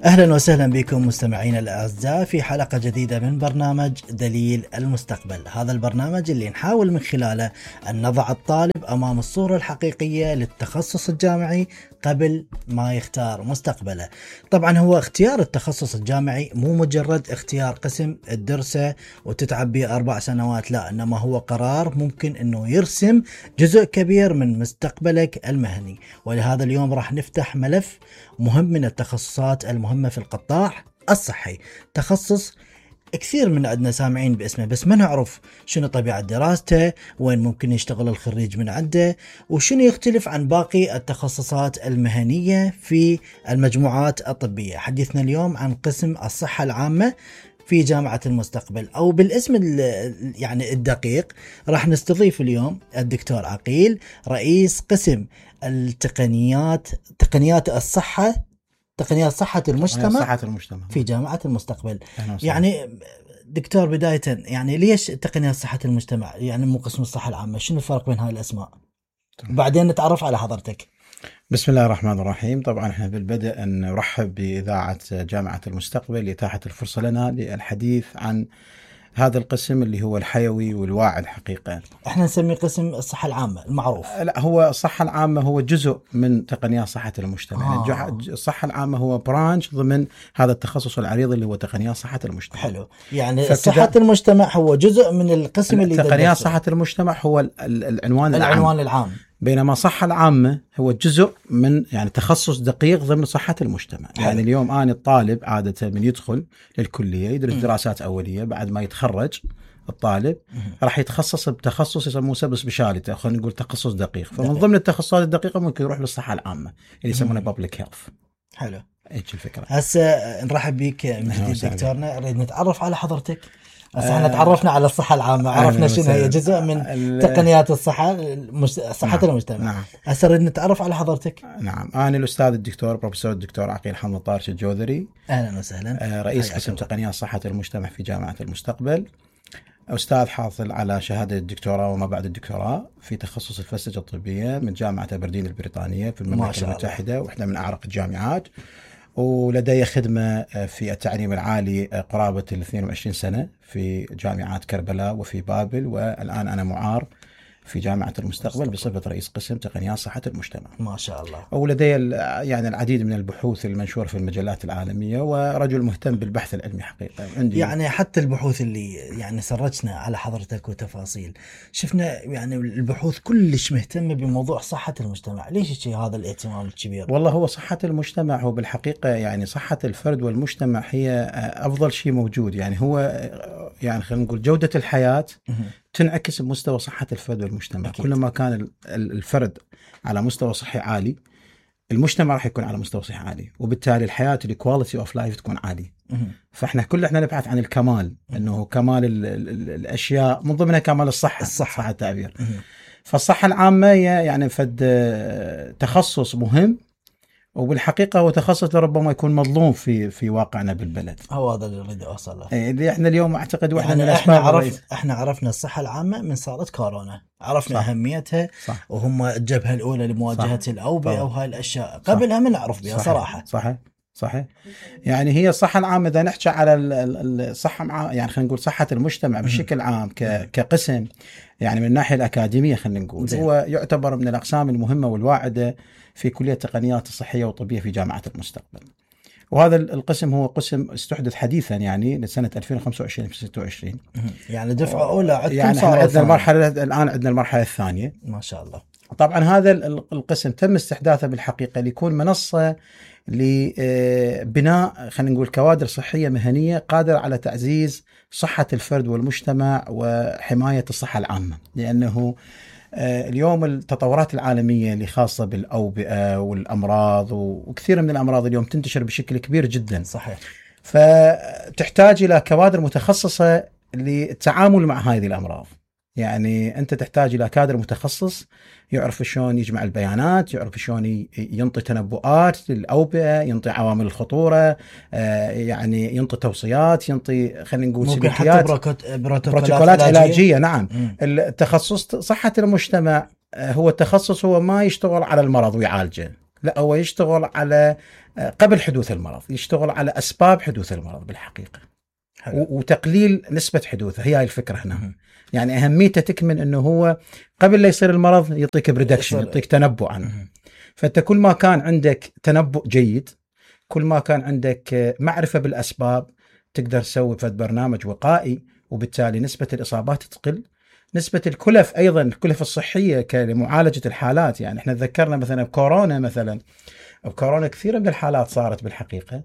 أهلا وسهلا بكم مستمعينا الأعزاء في حلقة جديدة من برنامج دليل المستقبل. هذا البرنامج اللي نحاول من خلاله أن نضع الطالب أمام الصورة الحقيقية للتخصص الجامعي قبل ما يختار مستقبله. طبعا هو اختيار التخصص الجامعي مو مجرد اختيار قسم تدرسه وتتعب به 4 سنوات، لا، إنما هو قرار ممكن أنه يرسم جزء كبير من مستقبلك المهني. ولهذا اليوم راح نفتح ملف مهم من التخصصات المهمة في القطاع الصحي، تخصص كثير من عندنا سامعين باسمه بس ما نعرف شنو طبيعة دراسته، وين ممكن يشتغل الخريج من عنده، وشنو يختلف عن باقي التخصصات المهنية في المجموعات الطبية. حديثنا اليوم عن قسم الصحة العامة في جامعة المستقبل، أو بالاسم يعني الدقيق راح نستضيف اليوم الدكتور عقيل، رئيس قسم التقنيات تقنيات صحة المجتمع في جامعة المستقبل. يعني دكتور بداية، يعني ليش تقنيات صحة المجتمع يعني مو قسم الصحة العامة؟ شنو الفرق بين هاي الأسماء؟ وبعدين نتعرف على حضرتك. بسم الله الرحمن الرحيم. طبعا احنا بالبدء نرحب بإذاعة جامعة المستقبل لإتاحة الفرصة لنا للحديث عن هذا القسم اللي هو الحيوي والواعي الحقيقة. احنا نسميه قسم الصحة العامة المعروف. لا، هو الصحة العامة هو جزء من تقنيات صحة المجتمع. يعني الصحة العامة هو برانش ضمن هذا التخصص العريض اللي هو تقنيات صحة المجتمع. حلو، يعني صحة المجتمع هو جزء من القسم اللي تقنيات صحة المجتمع هو العنوان العام. بينما الصحة العامة هو جزء من يعني تخصص دقيق ضمن صحة المجتمع. يعني اليوم أنا الطالب عادة من يدخل للكلية يدرس دراسات أولية، بعد ما يتخرج الطالب راح يتخصص بتخصص يسموه سب سبيشاليتي، خلينا نقول تخصص دقيق. فمن ضمن التخصصات الدقيقة ممكن يروح للصحة العامة اللي يسمونه بابليك هيلث. حلو، ايش الفكرة؟ هسه نرحب بك من جديد دكتورنا. نريد نتعرف على حضرتك. احنا تعرفنا على الصحة العامة، عرفنا شنو هي جزء من تقنيات صحة المجتمع. نعم. هسه نريد نتعرف على حضرتك. نعم، أنا الأستاذ الدكتور بروفيسور الدكتور عقيل حمد طارش الجوذري. أهلا وسهلا. رئيس قسم تقنيات صحة المجتمع في جامعة المستقبل. أستاذ حاصل على شهادة الدكتوراه وما بعد الدكتوراه في تخصص الفلسفة الطبية من جامعة أبردين البريطانية في المملكة المتحدة، واحدة من أعرق الجامعات. ولدي خدمة في التعليم العالي قرابة 22 سنة في جامعات كربلاء وفي بابل، والآن أنا معار في جامعة المستقبل بصفة رئيس قسم تقنيات صحة المجتمع. ما شاء الله. ولدي يعني العديد من البحوث المنشورة في المجلات العالمية، ورجل مهتم بالبحث العلمي حقيقة. عندي يعني حتى البحوث اللي يعني سرجنا على حضرتك وتفاصيل، شفنا يعني البحوث كلش مهتمة بموضوع صحة المجتمع. ليش هذا الاهتمام الكبير؟ والله هو صحة المجتمع هو بالحقيقة يعني صحة الفرد والمجتمع هي أفضل شيء موجود. يعني هو يعني خلينا نقول جودة الحياة تنعكس بمستوى صحة الفرد والمجتمع. أكيد. كلما كان الفرد على مستوى صحي عالي، المجتمع راح يكون على مستوى صحي عالي، وبالتالي الحياة الكواليتي اوف لايف تكون عالية. فاحنا كلنا نبحث عن الكمال، انه كمال الاشياء من ضمنها كمال الصحة صح التعبير. فالصحة العامة يعني فد تخصص مهم، وبالحقيقة هو تخصص لربما يكون مظلوم في واقعنا بالبلد. هو هذا اللي أريد أوصل له. اللي احنا اليوم أعتقد واحدة من الأسباب. احنا عرفنا الصحة العامة من صارت كورونا، عرفنا صح. أهميتها. صح. وهم الجبهة الأولى لمواجهة الأوبئة وهاي الأشياء. قبلها ما نعرف بها صراحة. صحيح. يعني هي الصحة العامة إذا نحكي على الصحة يعني خلينا نقول صحة المجتمع بشكل عام كقسم، يعني من الناحية الأكاديمية خلينا نقول هو يعتبر من الأقسام المهمة والواعدة في كلية التقنيات الصحية والطبية في جامعة المستقبل. وهذا القسم هو قسم استحدث حديثا يعني لسنة 2025 في 26. يعني دفعة أولى يعني عندنا المرحلة الآن، عندنا المرحلة الثانية. ما شاء الله. طبعا هذا القسم تم استحداثه بالحقيقة ليكون منصة لبناء خلينا نقول كوادر صحية مهنية قادرة على تعزيز صحة الفرد والمجتمع وحماية الصحة العامة. لأنه اليوم التطورات العالمية اللي خاصة بالأوبئة والأمراض وكثير من الأمراض اليوم تنتشر بشكل كبير جدا. صحيح. فتحتاج إلى كوادر متخصصة للتعامل مع هذه الأمراض. يعني أنت تحتاج إلى كادر متخصص يعرف شلون يجمع البيانات، يعرف شلون ينطي تنبؤات للأوبئة، ينطي عوامل الخطورة، يعني ينطي توصيات، ينطي خلينا نقول سلوكيات، بروتوكولات علاجية. نعم. التخصص صحة المجتمع هو التخصص هو ما يشتغل على المرض ويعالجه، لا، هو يشتغل على قبل حدوث المرض، يشتغل على أسباب حدوث المرض بالحقيقة. حلو. وتقليل نسبة حدوثه، هي الفكرة هنا. يعني أهميته تكمن أنه هو قبل لا يصير المرض يعطيك بريدكشن، يعطيك تنبؤ عنه. فأنت كل ما كان عندك تنبؤ جيد، كل ما كان عندك معرفة بالأسباب، تقدر تسوي فد برنامج وقائي، وبالتالي نسبة الإصابات تقل. نسبة الكلف أيضا، الكلف الصحية لمعالجة الحالات. يعني احنا تذكرنا مثلا بكورونا، مثلا بكورونا كثير من الحالات صارت بالحقيقة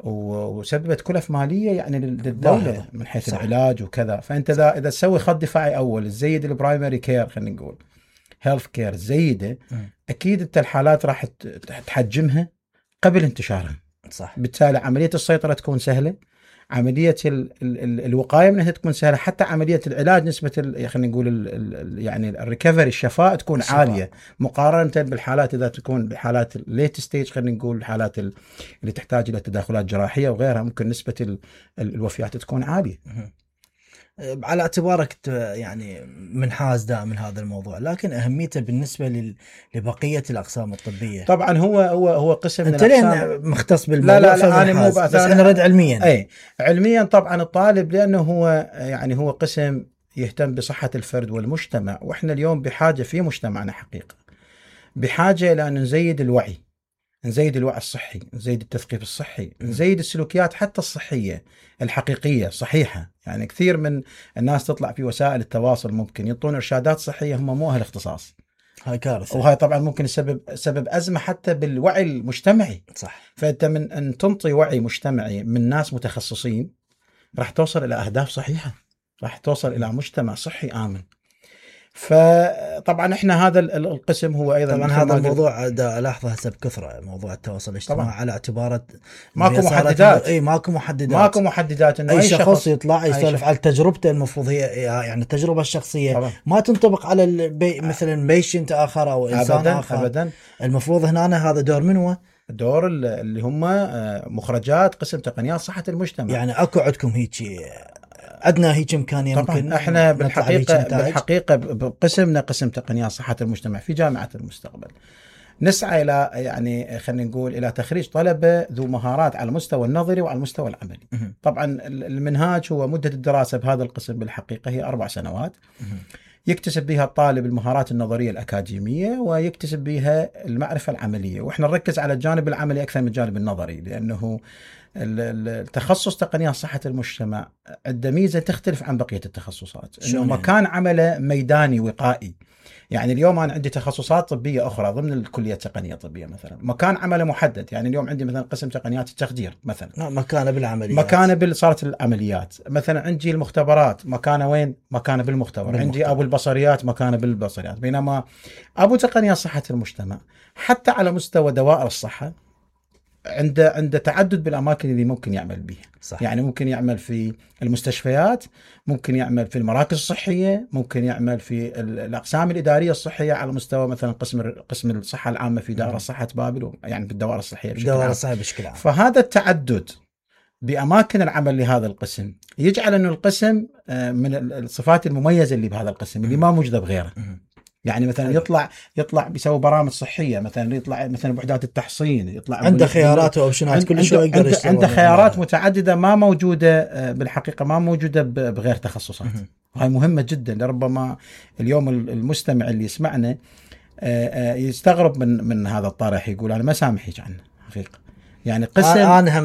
وسببت كلف مالية يعني للدولة من حيث العلاج وكذا. فأنت إذا تسوي خط دفاعي أول، تزيد البرايمري كير، خلينا نقول هيلث كير زيده، أكيد أنت الحالات راح تحجمها قبل انتشارها. صح. بالتالي عملية السيطرة تكون سهلة، عملية الوقاية منها تكون سهلة، حتى عملية العلاج نسبة خلينا نقول يعني الريكفري، الشفاء تكون عالية مقارنة بالحالات إذا تكون بحالات الليت ستيج، خلينا نقول الحالات اللي تحتاج إلى تدخلات جراحية وغيرها، ممكن نسبة الوفيات تكون عالية. على اعتبارك يعني منحاز دائما هذا الموضوع، لكن أهميته بالنسبة لبقية الأقسام الطبية. طبعا هو قسم من الأقسام مختص بالموضوع. لا أنا مو بس أنا رد علميا. أي علميا طبعا الطالب، لأنه هو يعني هو قسم يهتم بصحة الفرد والمجتمع، وإحنا اليوم بحاجة في مجتمعنا حقيقة، بحاجة إلى أن نزيد الوعي، نزيد الوعي الصحي، نزيد التثقيف الصحي، نزيد السلوكيات حتى الصحية الحقيقية صحيحة. يعني كثير من الناس تطلع في وسائل التواصل ممكن يعطون إرشادات صحية هم مو أهل اختصاص. هاي كارثة، وهاي طبعا ممكن سبب أزمة حتى بالوعي المجتمعي. صح. فأنت من أن تنطي وعي مجتمعي من ناس متخصصين راح توصل إلى أهداف صحيحة، راح توصل إلى مجتمع صحي آمن. فطبعا احنا هذا القسم هو ايضا طبعا هذا الموضوع الاحظه هسه بكثره، موضوع التواصل الاجتماعي طبعا. على اعتبار ماكو محددات. اي ماكو محددات انه اي شخص يطلع يسولف على تجربته، المفروض هي يعني التجربه الشخصيه طبعا. ما تنطبق على مثلا بيشنت اخر او انسان أبداً اخر أبداً. المفروض هنا هذا دور منو؟ دور اللي هم مخرجات قسم تقنيات صحه المجتمع. يعني اكو عندكم هيك أدنى هيك إمكانية ممكن؟ احنا بالحقيقة بقسمنا قسم تقنيات صحة المجتمع في جامعة المستقبل نسعى إلى يعني خلينا نقول إلى تخريج طلبة ذو مهارات على المستوى النظري وعلى المستوى العملي. طبعا المنهاج هو مدة الدراسة بهذا القسم بالحقيقة هي 4 سنوات، يكتسب بها الطالب المهارات النظرية الأكاديمية ويكتسب بها المعرفة العملية، وإحنا نركز على الجانب العملي أكثر من الجانب النظري، لأنه التخصص تقنيات صحة المجتمع عنده ميزة تختلف عن بقية التخصصات، إنه مكان عمله ميداني وقائي. يعني اليوم أنا عندي تخصصات طبية أخرى ضمن الكلية التقنية الطبية مثلا مكان عمله محدد. يعني اليوم عندي مثلا قسم تقنيات التخدير مثلا مكانه بالعمليات، مكانه صارت العمليات. مثلا عندي المختبرات مكانه وين؟ مكانه بالمختبر. عندي أبو البصريات مكانه بالبصريات. بينما أبو تقنيات صحة المجتمع حتى على مستوى دوائر الصحة عنده تعدد بالأماكن اللي ممكن يعمل بها. صح. يعني ممكن يعمل في المستشفيات، ممكن يعمل في المراكز الصحية، ممكن يعمل في الأقسام الإدارية الصحية على مستوى مثلا قسم الصحة العامة في دائرة صحة بابل، يعني في الدوائر الصحية بشكل عام. فهذا التعدد بأماكن العمل لهذا القسم يجعل أنه القسم من الصفات المميزة اللي بهذا القسم اللي ما موجودة بغيره. يعني مثلا يطلع بيسوي برامج صحيه، مثلا يطلع مثلا بوحدات التحصين، يطلع عنده خيارات واوبشنات كل شيء يقدر يشتغل. عنده خيارات متعدده ما موجوده بالحقيقه، ما موجوده بغير تخصصات. وهي مهمه جدا. لربما اليوم المستمع اللي يسمعنا يستغرب من هذا الطرح، يقول انا ما سامحك عنه حقيقه. يعني قسم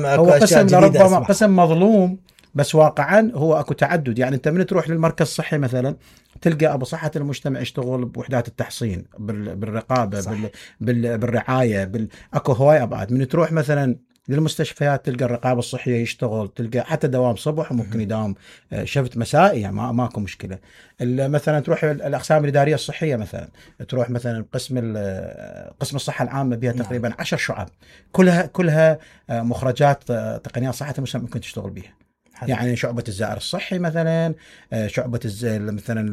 هو قسم لربما قسم مظلوم، بس واقعا هو اكو تعدد. يعني انت من تروح للمركز الصحي مثلا تلقى ابو صحه المجتمع يشتغل بوحدات التحصين، بالرقابه، بالرعايه، اكو هواي ابعاد. من تروح مثلا للمستشفيات تلقى الرقابه الصحيه يشتغل، تلقى حتى دوام صبح وممكن يداوم شفت مسائي، يعني ماكو مشكله. مثلا تروح الاقسام الاداريه الصحيه، مثلا تروح مثلا قسم الصحه العامه بها تقريبا 10 شعب، كلها مخرجات تقنيات صحه المجتمع ممكن تشتغل بها. يعني شعبة الزائر الصحي مثلا، شعبة مثلا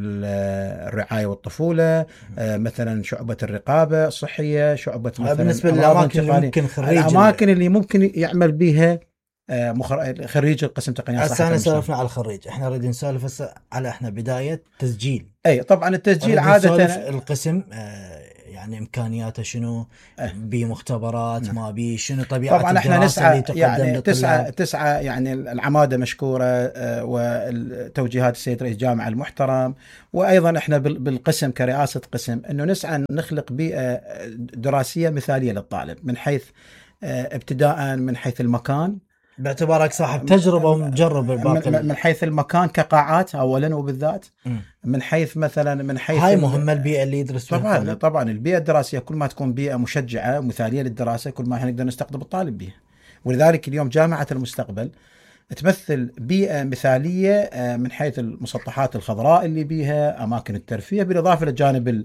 الرعاية والطفولة، مثلا شعبة الرقابة الصحية، شعبة مثلا بالنسبة للأماكن اللي ممكن الأماكن اللي ممكن يعمل بها خريج القسم تقنيات صحة المجتمع. سولفنا على الخريج، احنا نريد نسولف على احنا بداية تسجيل. اي طبعا التسجيل عادة القسم يعني امكانياته شنو، بمختبرات نعم. ما بي شنو طبيعه طبعا احنا الدراسه نسعى اللي تقدم يعني للطلاب. تسعى يعني العماده مشكوره، وتوجيهات السيد رئيس الجامعه المحترم، وايضا احنا بالقسم كرئاسه قسم انه نسعى نخلق بيئه دراسيه مثاليه للطالب، من حيث ابتداء من حيث المكان، باعتبارك صاحب تجربه ومجرب الباقي، من حيث المكان كقاعات اولا وبالذات، من حيث مثلا من حيث هاي مهمه البيئه اللي يدرس فيها طبعا الطالب. طبعا البيئه الدراسيه كل ما تكون بيئه مشجعه مثاليه للدراسه كل ما نقدر نستقطب الطالب بها. ولذلك اليوم جامعه المستقبل تمثل بيئه مثاليه من حيث المسطحات الخضراء اللي بيها، اماكن الترفيه، بالاضافه للجانب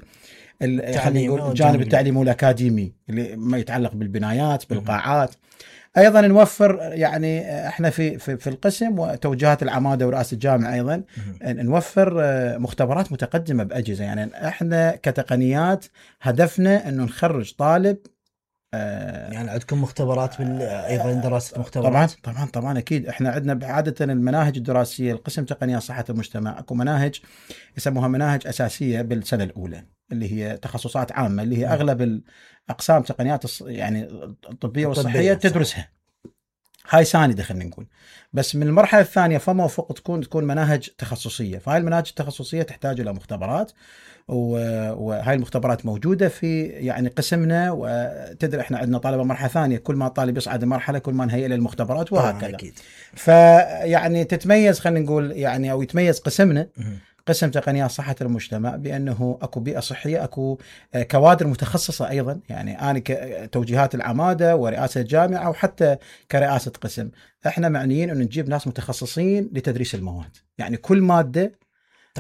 الجانب التعليمي والاكاديمي اللي ما يتعلق بالبنايات بالقاعات. ايضا نوفر يعني احنا في القسم وتوجيهات العماده ورئاسه الجامعه ايضا نوفر مختبرات متقدمه باجهزه. يعني احنا كتقنيات هدفنا انه نخرج طالب. يعني عندكم مختبرات ايضا دراسه مختبرات؟ طبعا اكيد. احنا عندنا عاده المناهج الدراسيه القسم تقنيات صحه المجتمع اكو مناهج يسموها مناهج اساسيه بالسنه الاولى اللي هي تخصصات عامه، اللي هي اغلب الاقسام تقنيات يعني الطبيه والصحيه تدرسها. هاي ساندة خلينا نقول. بس من المرحله الثانيه فما فوق تكون مناهج تخصصيه. فهاي المناهج التخصصيه تحتاج الى مختبرات، وهاي المختبرات موجوده في يعني قسمنا. وتدري احنا عندنا طلبه مرحله ثانيه، كل ما الطالب يصعد مرحله كل ما نهيئ له المختبرات وهكذا. فيعني تتميز خلينا نقول يعني او يتميز قسمنا قسم تقنيات صحة المجتمع بأنه أكو بيئة صحية، أكو كوادر متخصصة أيضا. يعني أنا كتوجيهات العمادة ورئاسة الجامعة وحتى كرئاسة قسم احنا معنيين أن نجيب ناس متخصصين لتدريس المواد. يعني كل مادة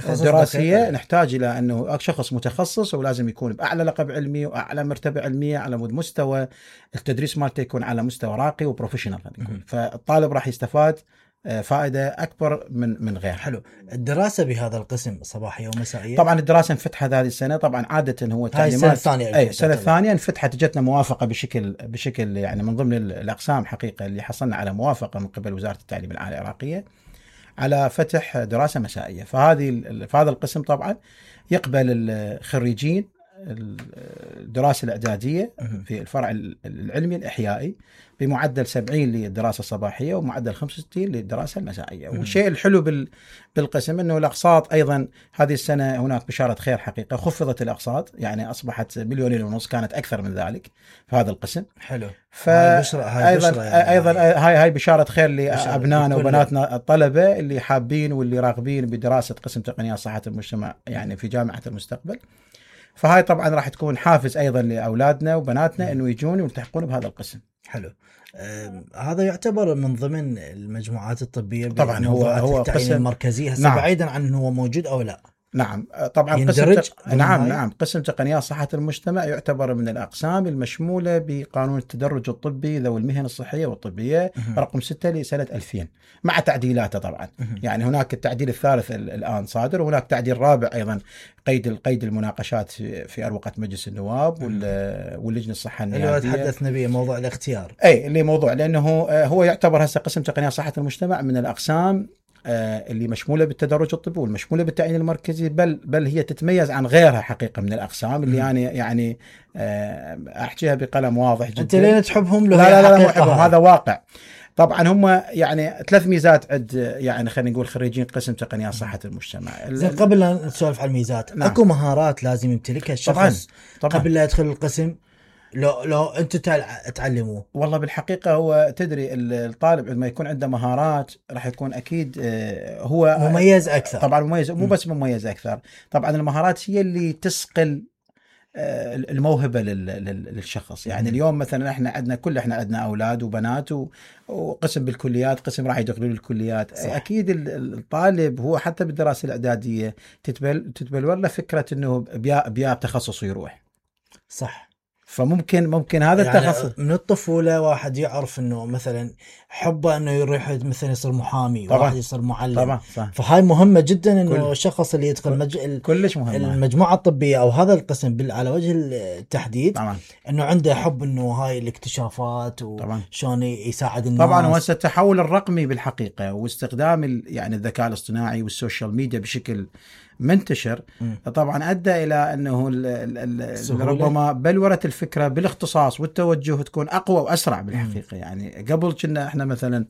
دراسية نحتاج إلى أنه شخص متخصص، ولازم يكون بأعلى لقب علمي وأعلى مرتبة علمية، على مستوى التدريس مالته يكون على مستوى راقي وبروفيشنال. فالطالب راح يستفاد فائدة أكبر من غير. حلو. الدراسة بهذا القسم صباحية ومسائية؟ طبعا الدراسة انفتحت هذه السنة. طبعا عادة هو تعليمات السنة الثانية. أي السنة الثانية انفتحت، جتنا موافقة بشكل يعني من ضمن الأقسام حقيقة اللي حصلنا على موافقة من قبل وزارة التعليم العالي العراقية على فتح دراسة مسائية. في هذا القسم طبعا يقبل الخريجين الدراسة الإعدادية في الفرع العلمي الإحيائي بمعدل 70 للدراسة الصباحية ومعدل 65 للدراسة المسائية. والشيء الحلو بالقسم أنه الأقساط أيضا هذه السنة هناك بشارة خير حقيقة، خفضت الأقساط يعني أصبحت 1.5 مليون، كانت أكثر من ذلك في هذا القسم. حلو. أيضا هاي بشارة خير لأبنائنا وبناتنا الطلبة اللي حابين واللي راغبين بدراسة قسم تقنيات صحة المجتمع يعني في جامعة المستقبل. فهاي طبعا راح تكون حافز أيضا لأولادنا وبناتنا أنه يجون ويلتحقون بهذا القسم. حلو. هذا يعتبر من ضمن المجموعات الطبية طبعا هو قسم المركزي هسه. نعم. بعيدا عن أنه هو موجود أو لا. نعم طبعا نعم قسم تقنيات صحة المجتمع يعتبر من الأقسام المشمولة بقانون التدرج الطبي ذوي المهن الصحية والطبية رقم 6 لسنة 2000 مع تعديلاته طبعا. يعني هناك التعديل الثالث الآن صادر، وهناك تعديل رابع أيضا قيد المناقشات في أروقة مجلس النواب واللجنة الصحة النيابية اللي تحدثنا به موضوع الاختيار. اللي موضوع لأنه هو يعتبر هسه قسم تقنيات صحة المجتمع من الأقسام اللي مشمولة بالتدرج الطبي والمشمولة بالتعيين المركزي، بل هي تتميز عن غيرها حقيقة من الأقسام اللي يعني أحكيها بقلم واضح جدا. أنت لين تحبهم؟ لا مو حبهم، هذا واقع. طبعا هم يعني 3 ميزات عند يعني خلينا نقول خريجين قسم تقنيات صحة المجتمع. زين قبل لا نسولف عن الميزات، نعم. اكو مهارات لازم يمتلكها الشخص طبعاً. قبل لا يدخل القسم لو انت تعلموه؟ والله بالحقيقه هو تدري الطالب لما يكون عنده مهارات راح يكون اكيد هو مميز اكثر. طبعا مميز، مو بس مميز اكثر، طبعا المهارات هي اللي تسقل الموهبه للشخص. يعني اليوم مثلا احنا عندنا اولاد وبنات وقسم بالكليات، قسم راح يدخلوا الكليات. صح. اكيد الطالب هو حتى بالدراسه الاعداديه تتبلور له فكره انه بيا تخصص يروح. صح. فممكن هذا يعني التخصص من الطفولة واحد يعرف انه مثلا حبه انه يروح مثلا يصير محامي، طبعا. واحد يصير معلم. طبعا. فهاي مهمة جدا انه الشخص اللي يدخل كلش مهمة المجموعة الطبية او هذا القسم على وجه التحديد، طبعا. انه عنده حب انه هاي الاكتشافات وشون يساعد الناس. طبعا هو التحول الرقمي بالحقيقة واستخدام يعني الذكاء الاصطناعي والسوشيال ميديا بشكل منتشر طبعا ادى الى انه ربما بلورة الفكره بالاختصاص والتوجه تكون اقوى واسرع بالحقيقه. يعني قبل كنا احنا مثلا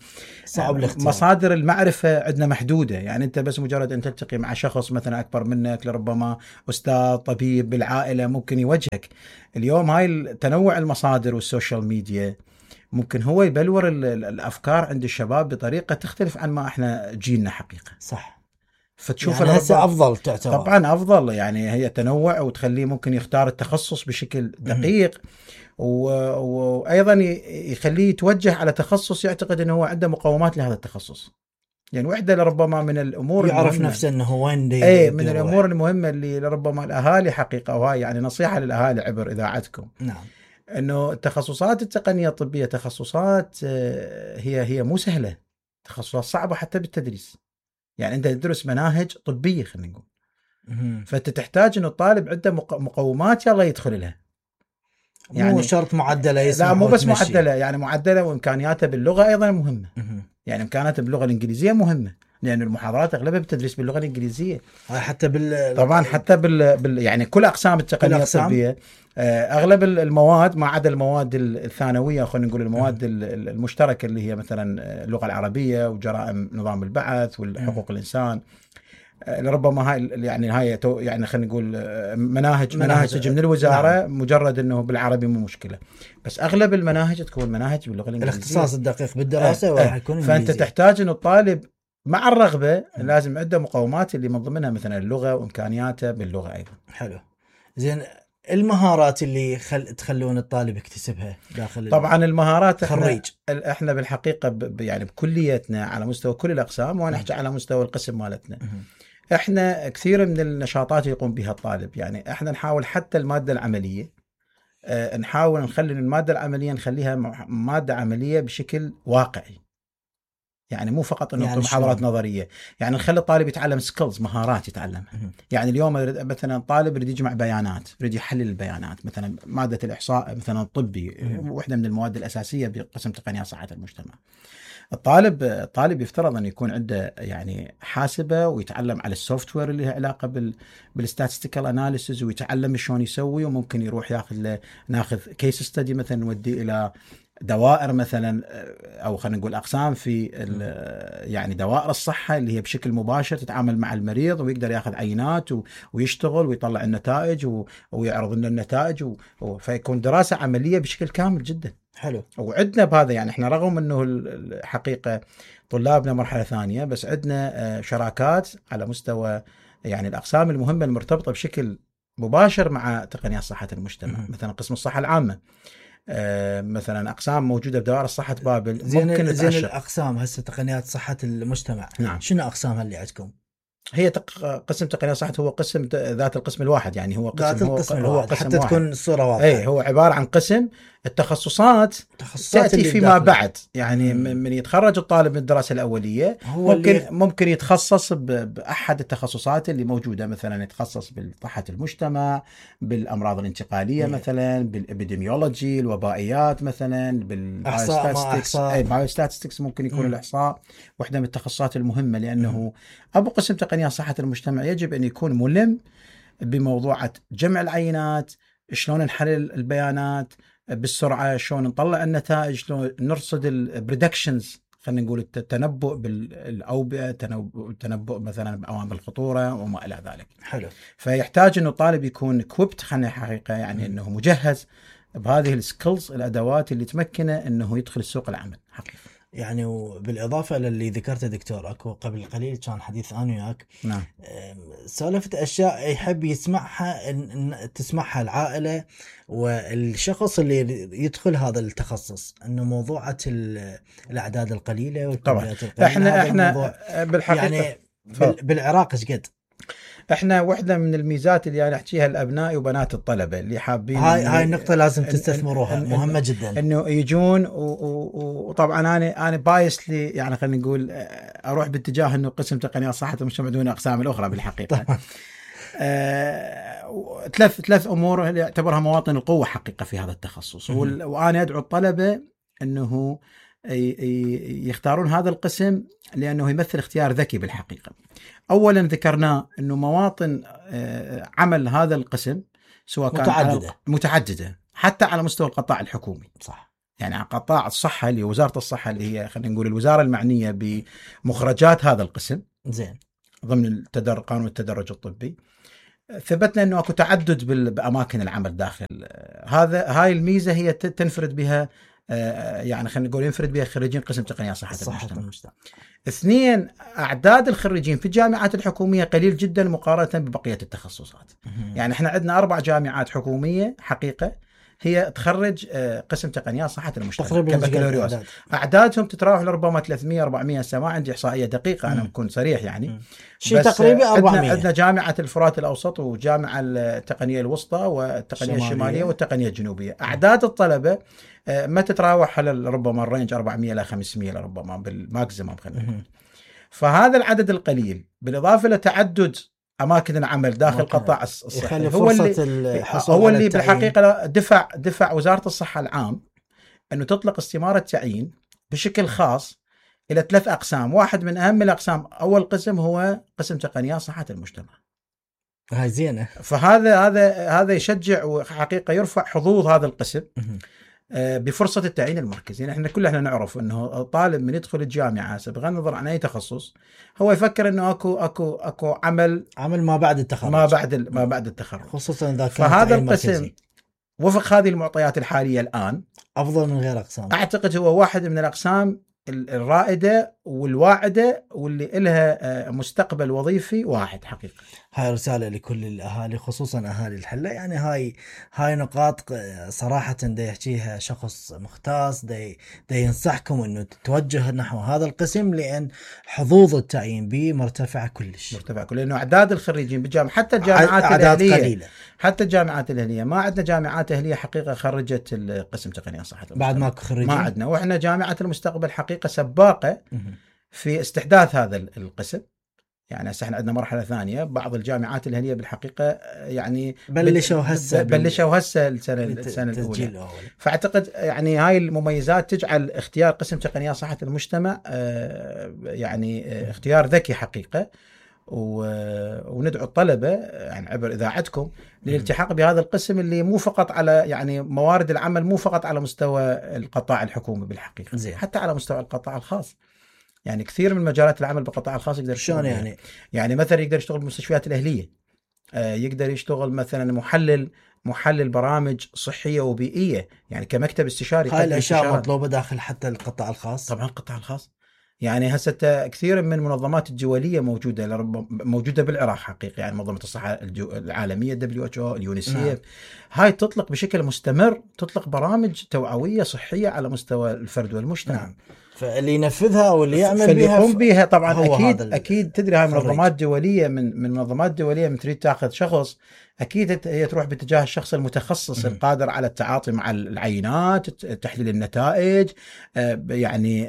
صعب مصادر المعرفه عندنا محدوده، يعني انت بس مجرد ان تلتقي مع شخص مثلا اكبر منك، لربما استاذ طبيب بالعائله ممكن يوجهك. اليوم هاي تنوع المصادر والسوشيال ميديا ممكن هو يبلور الافكار عند الشباب بطريقه تختلف عن ما احنا جيلنا حقيقه. صح. فتشوف يعني هسه افضل تعتبر. طبعا افضل، يعني هي تنوع وتخليه ممكن يختار التخصص بشكل دقيق وايضا يخليه يتوجه على تخصص يعتقد انه هو عنده مقومات لهذا التخصص. يعني واحدة لربما من الامور يعرف نفسه انه هو وين من الامور المهمه اللي لربما الاهالي حقيقه، وهاي يعني نصيحه للاهالي عبر اذاعتكم. نعم. انه التخصصات التقنيه الطبيه تخصصات هي مو سهله، تخصصات صعبه حتى بالتدريس. يعني انت تدرس مناهج طبيه خلينا نقول، فانت تحتاج انه الطالب عنده مقومات يلا يدخل لها. يعني مو شرط معدله، لا مو بس معدله، يعني معدله وامكانياته باللغه ايضا مهمه. يعني امكانياته باللغه الانجليزيه مهمه، لان المحاضرات اغلبها بتدرس باللغه الانجليزيه. حتى طبعا حتى يعني كل اقسام التقنيه الطبيه اغلب المواد ما عدا المواد الثانويه، خلينا نقول المواد المشتركه اللي هي مثلا اللغه العربيه وجرائم نظام البعث والحقوق الانسان، لربما هاي يعني خلينا نقول مناهج من الوزاره. نعم. مجرد انه بالعربي مو مشكله، بس اغلب المناهج تكون مناهج باللغه الانجليزيه. الاختصاص الدقيق بالدراسه راح يكون فانت تحتاج انه الطالب مع الرغبه لازم عنده مقومات اللي من ضمنها مثلا اللغه وامكانياته باللغه ايضا. حلو. زين، المهارات اللي تخلون الطالب يكتسبها داخل طبعا المهارات خريج. احنا بالحقيقه يعني بكليتنا على مستوى كل الاقسام، وانا احكي على مستوى القسم مالتنا. احنا كثير من النشاطات يقوم بها الطالب، يعني احنا نحاول حتى الماده العمليه نحاول نخلي الماده العمليه نخليها ماده عمليه بشكل واقعي. يعني مو فقط انه يعني محاضرات نظريه، يعني نخلي الطالب يتعلم سكيلز، مهارات يتعلمها. يعني اليوم مثلا طالب يريد يجمع بيانات، يريد يحلل البيانات، مثلا ماده الاحصاء مثلا طبي واحده من المواد الاساسيه بقسم تقنيات صحه المجتمع. الطالب يفترض أن يكون عنده يعني حاسبة ويتعلم على السوفت وير اللي له علاقة بالستاتستيكال اناليسيز، ويتعلم شلون يسوي، وممكن يروح ناخذ كيس ستدي مثلا نوديه إلى دوائر مثلا، أو خلينا نقول أقسام في يعني دوائر الصحة اللي هي بشكل مباشر تتعامل مع المريض، ويقدر ياخذ عينات ويشتغل ويطلع النتائج ويعرض لنا النتائج فيكون دراسة عملية بشكل كامل جدا. حلو. وعندنا بهذا، يعني احنا رغم انه الحقيقه طلابنا مرحله ثانيه، بس عندنا شراكات على مستوى يعني الاقسام المهمه المرتبطه بشكل مباشر مع تقنيات صحه المجتمع. مثلا قسم الصحه العامه، مثلا اقسام موجوده بدوائر الصحه بابل. زين الاقسام هسه تقنيات صحه المجتمع. نعم. شنو اقسامها اللي عندكم؟ هي قسم تقنيات صحة هو قسم ذات القسم الواحد، يعني هو قسم هو قسم حتى واحد. تكون الصورة واضحة. اي هو عبارة عن قسم. التخصصات تأتي فيما بعد، يعني من يتخرج الطالب من الدراسة الأولية ممكن يتخصص بأحد التخصصات اللي موجودة، مثلا يتخصص بالصحة المجتمع، بالأمراض الانتقالية مثلا، بالإبيديميولوجي، الوبائيات مثلا، بالبايوستاتستكس ممكن يكون الإحصاء واحدة من التخصصات المهمة، لأنه أبو قسم تقنيات صحة المجتمع يجب أن يكون ملم بموضوع جمع العينات، شلون نحلل البيانات بالسرعة، شلون نطلع النتائج، شلون نرصد البريدكشنز، خلينا نقول التنبؤ بالأوبئة، التنبؤ مثلا بعوامل الخطورة وما إلى ذلك. حلو. فيحتاج إنه الطالب يكون equipped، خلينا حقيقة يعني إنه مجهز بهذه السكيلز، الأدوات اللي تمكنه إنه يدخل السوق العمل حقيقة. يعني وبالإضافة للي ذكرته دكتور، أكو قبل قليل كان حديث أنا وياك. نعم. سالفة أشياء يحب يسمعها، إن تسمعها العائلة والشخص اللي يدخل هذا التخصص، إنه موضوعة الأعداد القليلة والكميات القليلة. إحنا بالحقيقة يعني بالعراق إيش قد؟ احنا واحدة من الميزات اللي انا احكيها لابنائي وبنات الطلبة اللي حابين، هاي النقطة لازم تستثمروها، مهمة جدا، انه يجون. وطبعا انا بايس لي، يعني خلينا نقول اروح باتجاه انه قسم تقنيات صحة المجتمع دون اقسام الاخرى بالحقيقة. ثلاث امور اللي يعتبرها مواطن القوة حقيقة في هذا التخصص. وانا ادعو الطلبة انه يختارون هذا القسم لأنه يمثل اختيار ذكي بالحقيقة. أولا ذكرناه أنه مواطن عمل هذا القسم سواء كان متعددة حتى على مستوى القطاع الحكومي. صح. يعني على قطاع الصحة اللي وزارة الصحة اللي هي خلينا نقول الوزارة المعنية بمخرجات هذا القسم زين ضمن قانون التدرج الطبي، ثبتنا أنه أكو تعدد بأماكن العمل داخل هاي الميزة هي تنفرد بها يعني خلينا نقول ينفرد بها خريجين قسم تقنيات صحة المجتمع. اثنين، أعداد الخريجين في الجامعات الحكومية قليل جدا مقارنة ببقية التخصصات. يعني احنا عندنا 4 جامعات حكومية حقيقة هي تخرج قسم تقنيات صحة المجتمع كبكالوريوس. أعدادهم تتراوح لربما 300-400 ما عندي إحصائية دقيقة أنا بكون صريح يعني شيء تقريبا 400. عندنا جامعة الفرات الأوسط وجامعة التقنية الوسطى والتقنية الشمالية والتقنية الجنوبية. أعداد الطلبة ما تتراوح على ربما الرينج 400 إلى 500 ربما بالماكسيمم خلينا نقول. فهذا العدد القليل بالإضافة لتعدد أماكن العمل داخل قطاع الصحة هو اللي بالحقيقة دفع وزارة الصحة العام أنه تطلق استمارة تعيين بشكل خاص إلى 3 أقسام. واحد من أهم الأقسام أول قسم هو قسم تقنيات صحة المجتمع. هاي زينة. فهذا يشجع وحقيقة يرفع حظوظ هذا القسم بفرصة التعيين المركزي. يعني احنا كلنا نعرف انه الطالب من يدخل الجامعة بغض النظر عن اي تخصص هو يفكر انه اكو عمل ما بعد التخرج ما بعد التخرج، خصوصا اذا كان فهذا القسم وفق هذه المعطيات الحالية الآن افضل من غير اقسام. اعتقد هو واحد من الاقسام الرائدة والواعدة واللي إلها مستقبل وظيفي واحد حقيقة. هاي رسالة لكل الأهالي خصوصا أهالي الحلة. يعني هاي نقاط صراحة دا يحكيها شخص مختص دا ينصحكم أنه تتوجه نحو هذا القسم لأن حظوظ التعيين به مرتفعة كلش لأنه أعداد الخريجين بالجامعة حتى الجامعات الأهلية قليلة. حتى الجامعات الأهلية ما عندنا جامعات أهلية حقيقة خرجت القسم تقنية صحة بعد ما خريجين ما عندنا. وإحنا جامعة المستقبل حقيقة سباقة في استحداث هذا القسم. يعني هسه احنا عندنا مرحله ثانيه. بعض الجامعات الاهليه بالحقيقه يعني بلشوا هسه السنه الاولى. فاعتقد يعني هاي المميزات تجعل اختيار قسم تقنيات صحه المجتمع يعني اختيار ذكي حقيقه. وندعو الطلبه يعني عبر اذاعتكم للالتحاق بهذا القسم اللي مو فقط على يعني موارد العمل مو فقط على مستوى القطاع الحكومي بالحقيقه زي. حتى على مستوى القطاع الخاص. يعني كثير من مجالات العمل بالقطاع الخاص يقدر يشتغل يعني مثلا يقدر يشتغل بالمستشفيات الأهلية، يقدر يشتغل مثلا محلل برامج صحية وبيئية يعني كمكتب استشاري. هاي الأشياء مطلوبة داخل حتى القطاع الخاص. طبعا القطاع الخاص يعني هسه كثير من المنظمات الدولية موجودة بالعراق حقيقة. يعني منظمة الصحة العالمية WHO اليونيسيف هاي تطلق بشكل مستمر تطلق برامج توعوية صحية على مستوى الفرد والمجتمع. فاللي ينفذها واللي يعمل بها طبعا اكيد تدري هاي منظمات دوليه من منظمات دوليه من تريد تاخذ شخص اكيد هي تروح باتجاه الشخص المتخصص القادر على التعاطي مع العينات تحليل النتائج. يعني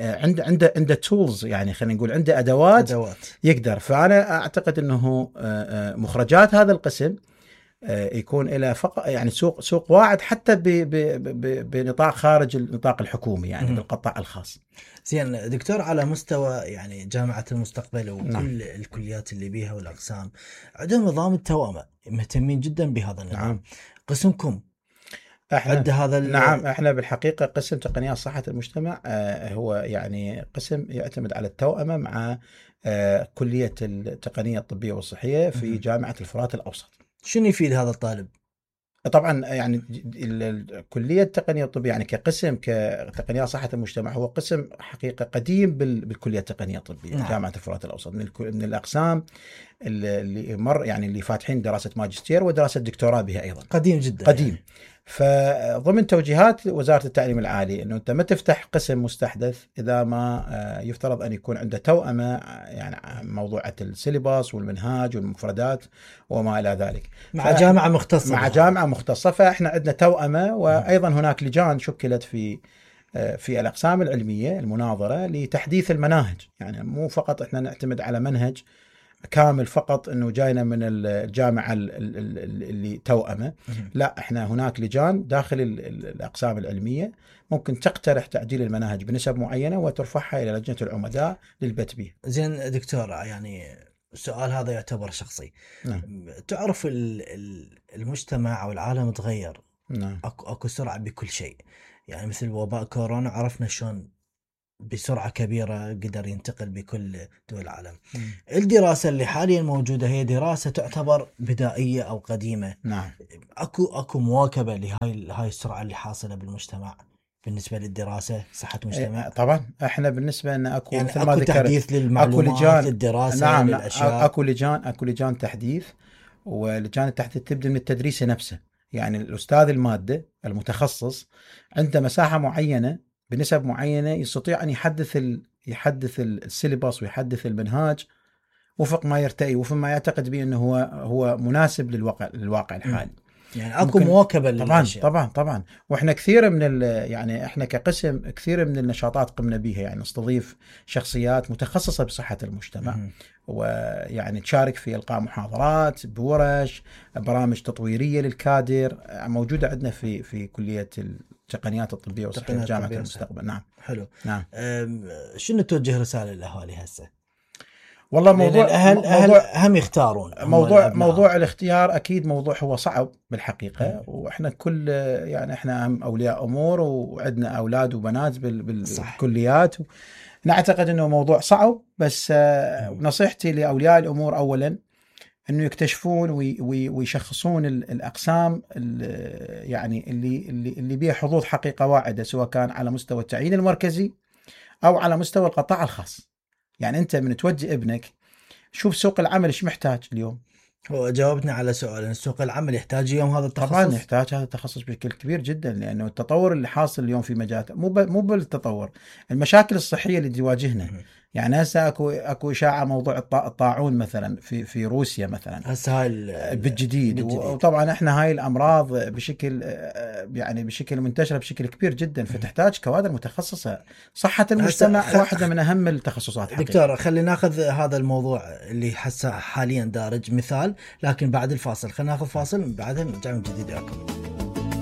عنده تولز يعني خلينا نقول عنده ادوات يقدر. فانا اعتقد انه مخرجات هذا القسم يكون إلى يعني سوق واعد حتى بنطاق خارج النطاق الحكومي يعني بالقطاع الخاص. زين دكتور، على مستوى يعني جامعة المستقبل وكل الكليات اللي بيها والأقسام عندهم نظام التوأمة مهتمين جدا بهذا النظام. قسمكم احنا نعم احنا بالحقيقة قسم تقنيات صحة المجتمع هو يعني قسم يعتمد على التوأمة مع كلية التقنية الطبية والصحية في جامعة الفرات الأوسط. شنو يفيد هذا الطالب؟ طبعا يعني كلية التقنية الطبية يعني كقسم كتقنية صحة المجتمع هو قسم حقيقة قديم بالكلية التقنية الطبية. جامعة الفرات الأوسط من الأقسام اللي فاتحين دراسة ماجستير ودراسة دكتوراه بها أيضا. قديم جدا قديم يعني. فضمن توجيهات وزارة التعليم العالي أنه أنت ما تفتح قسم مستحدث إذا ما يفترض أن يكون عنده توأمة يعني موضوعة السيلباس والمنهاج والمفردات وما إلى ذلك مع جامعة مختصة جامعة مختصة. فإحنا عندنا توأمة وأيضا هناك لجان شكلت في الأقسام العلمية المناظرة لتحديث المناهج. يعني مو فقط إحنا نعتمد على منهج كامل فقط انه جاينا من الجامعه اللي توأمه. لا، احنا هناك لجان داخل الاقسام العلميه ممكن تقترح تعديل المناهج بنسب معينه وترفعها الى لجنه العمداء للبت به. زين دكتور، يعني السؤال هذا يعتبر شخصي. نعم. تعرف المجتمع او العالم تغير. نعم. اكو سرعه بكل شيء، يعني مثل وباء كورونا عرفنا شلون بسرعة كبيرة قدر ينتقل بكل دول العالم. الدراسة اللي حاليا موجودة هي دراسة تعتبر بدائية أو قديمة. نعم. أكو مواكبة لهاي السرعة اللي حاصلة بالمجتمع بالنسبة للدراسة صحة المجتمع؟ طبعا احنا بالنسبة لنا اكو يعني مثل ما أكو ذكرت تحديث للمعلومات للدراسة. نعم. للأشياء. اكو لجان تحديث، ولجان التحديث تبدأ من التدريس نفسه. يعني الأستاذ المادة المتخصص عنده مساحة معينة بنسب معينة يستطيع أن يحدث السيلبس ويحدث المنهاج وفق ما يرتئي وفق ما يعتقد به أنه هو مناسب للواقع الحالي. يعني اكو مواكبه للاشياء. طبعا واحنا كثير من يعني احنا كقسم كثير من النشاطات قمنا بها، يعني نستضيف شخصيات متخصصه بصحه المجتمع ويعني تشارك في القاء محاضرات بورش برامج تطويريه للكادر موجوده عندنا في كليه التقنيات الطبيه وصحه جامعه المستقبل. نعم. حلو. نعم. شنو توجه رساله للاهالي هسه؟ والله الأهل هم يختارون. موضوع الاختيار أكيد موضوع هو صعب بالحقيقة. وإحنا كل يعني إحنا هم أولياء أمور وعندنا أولاد وبنات بالكليات. نعتقد أنه موضوع صعب، بس نصيحتي لأولياء الأمور أولا أنه يكتشفون ويشخصون الأقسام يعني اللي بها حظوظ حقيقة واعدة، سواء كان على مستوى التعيين المركزي أو على مستوى القطاع الخاص. يعني أنت من توجه ابنك شوف سوق العمل إيش محتاج اليوم. هو جاوبنا على سؤال، سوق العمل يحتاج اليوم هذا التخصص؟ طبعا يحتاج هذا التخصص بشكل كبير جدا، لأنه التطور اللي حاصل اليوم في مجالات مو بالتطور، المشاكل الصحية اللي تواجهنا. يعني هسه اكو اشاعه موضوع الطاعون مثلا في روسيا مثلا هسه هاي بالجديد. وطبعا احنا هاي الامراض بشكل منتشره بشكل كبير جدا، فتحتاج كوادر متخصصه. صحه المجتمع واحده من اهم التخصصات حقيقة. دكتور خلينا ناخذ هذا الموضوع اللي حاليا دارج مثال، لكن بعد الفاصل خلينا ناخذ فاصل بعدها نرجع من جديد لكم.